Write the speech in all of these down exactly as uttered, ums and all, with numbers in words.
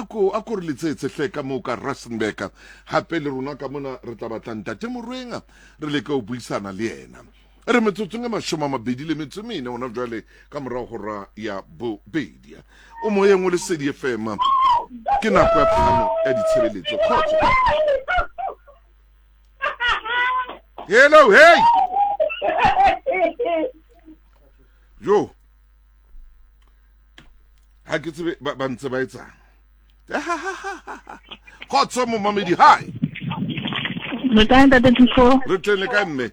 ko a ko re letsetse hle ka moo ka Rustenburg. Hape le rona ka mona re tla batla ntate Morwenga re leke ho buisana le yena. Re metsotsong e mashome a mabedi le metso e mene hona jwale ka morao hora ya bobedi. O moyeng o Lesedi F M. Ke nako ya phano ya ditshebeletso. Kgotso. Hello, hey. Yo. Ha ke tsebe ba ba ntse ba etsang. Kgotso momamedi, hi. Re teng ntate Thuso. Re teng le kae mme?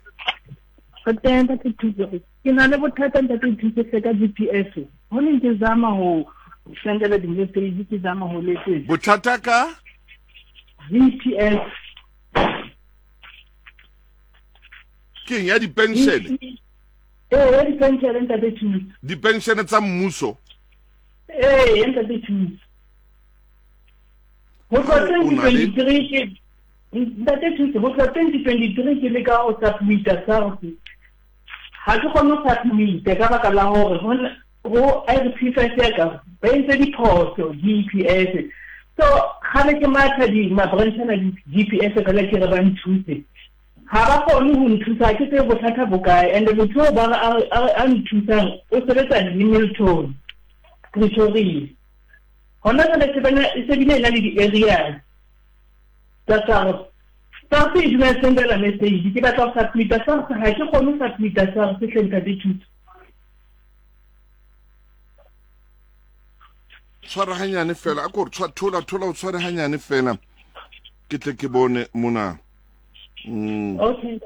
Re teng ntate Thuso. Ke na le bothata ntate Thuso hle ka G P S. Ho neng ke zama ho sendela di-message, ke zama ho letsetsa. Bothata ka? G P S. Ke eng ya dipenshene? Ee, ya dipenshene ntate Thuso. Dipenshene tsa mmuso? Ee, ntate Thuso. Ho tloha twenty twenty-three ke ntate Thuso, ho tloha twenty twenty-three ke leka ho submit-a SARS. Ha ke kgone ho submit-a ka baka la hore ho I R P five ya ka ba entse diphoso G P S. So kgale ke matha di ma-branch ana di G P S fela ke re ba nthuse. Ha ba kgone ho nthusa, ha ke tsebe bothata bo kae. And motho oo ba re a nthusang o sebetsa Hamilton, Pretoria. Hona jwale se bana e se bile e na le di-areas tsa SARS. SARS e dula e sendela message, ke batla ho submit-a SARS, ha ke kgone ho submit-a SARS hle ntate Thuso. Tshwara hanyane fela, a ko re thola thola o tshware hanyane fela. Ke tle ke bone mona. Mm. Okay.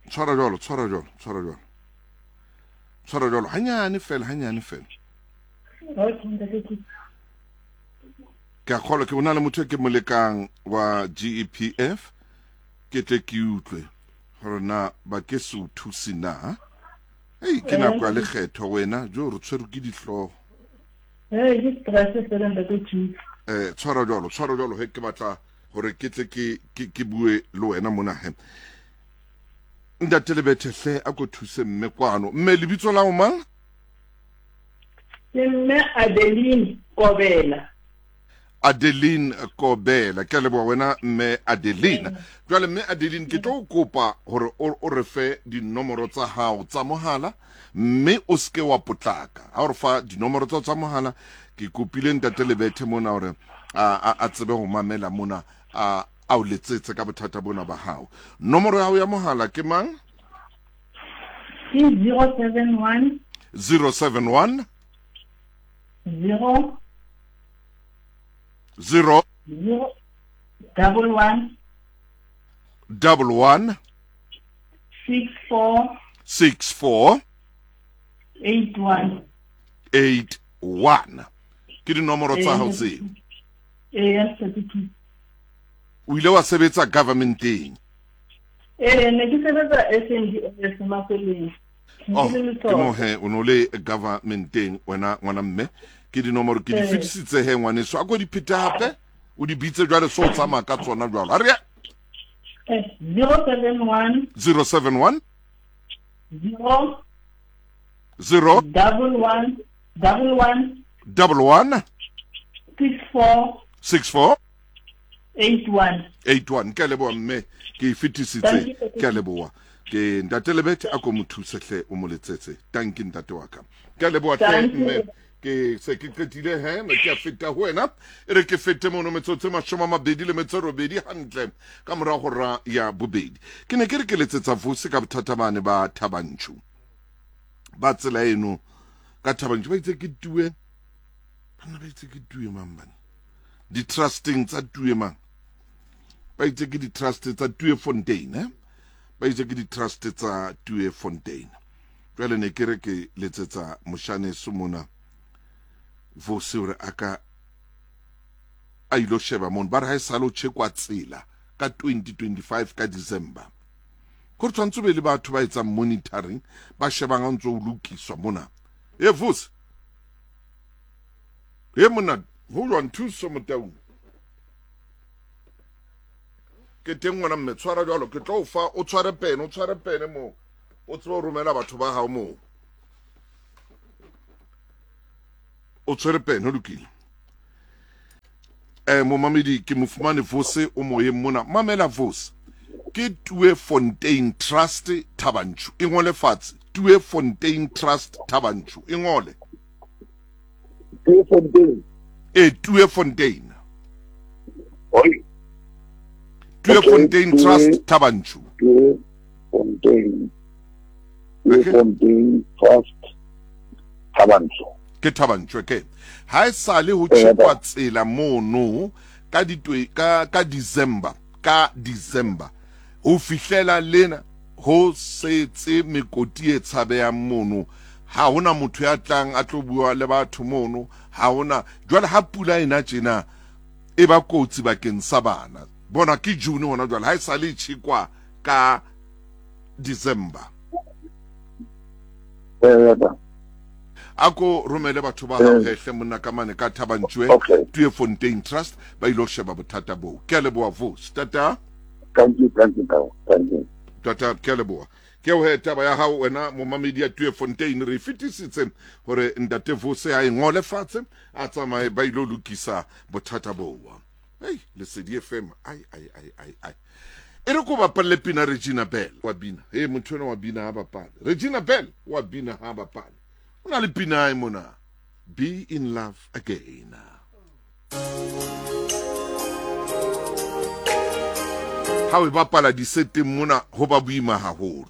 Tshwara jwalo, tshwara jwalo, tshwara jwalo. Tshwara jwalo hanyane fela, hanyane fela. Okay ntate Thuso. Ke a kgolwa ke bona le motho e ke mo lekang wa G E P F, ke tle ke utlwe hore na ba ke se o thuse na. Hei, ke nako ya lekgetho wena, jo re tshwerwe ke dihlooho. Hey, ke stress fela ntate Thuso. Eh, tshwara jwalo, tshwara jwalo he ke batla hore ke tle ke ke ke bue le wena mona he. Ntate Lebethe hle a ko thuse mme kwano. Mme lebitso la o mang? Ke mme Adeline Kobela. Adeline Kobela. Ke a leboha wena mme Adeline. Jwale mme Adeline ke tlo kopa hore o re fe dinomoro tsa hao tsa mohala mme o seke wa potlaka. Ha o re fa dinomoro tsa tsa mohala, ke kopile ntate Lebethe mona hore a a tsebe ho mamela mona a a o letsetse ka bothata bona ba hao. Nomoro ya hao ya mohala ke mang? Ke zero seven one zero seven one zero zero zero double one double one six four six four eight one eight one. Ke dinomoro tsa hao tseo? Ee, thirty-two. O ile wa sebetsa governmenteng? Ee, ne ke sebetsa S N D S Mafeleng. Oh, ke mo he o no le governmenteng wena ngwana mme. Ke dinomoro ke di fetisitse he ngwaneso. A ko di phete hape, o di bitse jwale so o tsamaya ka tsona jwalo. A re zero seven one zero seven one zero zero double one double one double one six four six four eight one eight one. Ke a leboha mme, ke e fetisitse. Ke a leboha. Ke ntate Lebethe a ko mo thuse hle o mo letsetse. Tanki ntate wa ka. Ke a leboha hle mme. Ke se ke qetile he, me ke a feta ho wena. E re ke fete mono metsotso e mashome a mabedi le metso e robedi hantle ka mora hora ya bobedi. Ke ne ke re ke letsetsa Vusi ka bothata bane ba Thabantšu. Ba tsela eno ka Thabantšu ba itse ke tue. Banna ba itse ke tue mang bana? Di-trusting tsa tue mang? Ba itse ke di-trust tsa Tue Fontaine, eh? Ba itse ke di-trust tsa Tue Fontaine. Jwale ne ke re ke letsetsa moshaneso mona Vusi hore a ka a ilo sheba mono. Ba re ha e sale o tjhekwa tsela ka twenty twenty-five ka December. Ko re tshwantse be le batho ba etsang monitoring, ba shebang ha ntse o lokiswa mona. E Vusi. E mona, ho jwang Thuso Motaung? Ke teng ngwana mme, tshwara jwalo, ke tlo o fa, o tshware pene, o tshware pene moo. O tsebe ho romela batho ba hao moo. O tshwere pene, ho lokile. Eh momamedi ke mofumane Vose o moyeng mona. Mamela Vose. Ke Tweefontein Trust Thaba Nchu. E ngole fatshe. Tweefontein Trust Thaba Nchu. E ngole. Tweefontein. E Tweefontein. Oi. Tweefontein Trust Thaba Nchu. Tweefontein. Tweefontein Trust Thaba Nchu. Ke Thaba Nchu ke. Ha e sale ho tjhekwa tsela mono ka ditwe ka ka December, ka December. Ho fihlela lena ho setse mekoti e tshabehang mono. Ha hona motho ya tlang a tlo bua le batho mono, ha hona. Jwale ha pula ena tjena e ba kotsi bakeng sa bana. Bona ke June hona jwale ha e sale tjhekwa ka December. Ako romele batho ba hao hehle monna ka mane ka Thaba Nchu Tweefontein Trust ba ilo sheba bothata boo. Ke a leboha Vose. Tata. Thank you, thank you, thank you. Tata, ke a leboha. Ke o he taba ya hao wena momamedi ya Tweefontein re fetisitse hore ntate Vose a e ngole fatshe a tsamaye ba ilo lokisa bothata boo. Hey, Lesedi F M ai ai ai ai ai. E re ko bapalle pina Regina Bell wa bina. Hey, motho ena wa bina ha bapale. Regina Bell wa bina ha bapale. Una le pina e mona. Be in love again. Ha o bapala diseteng mona ho ba boima haholo.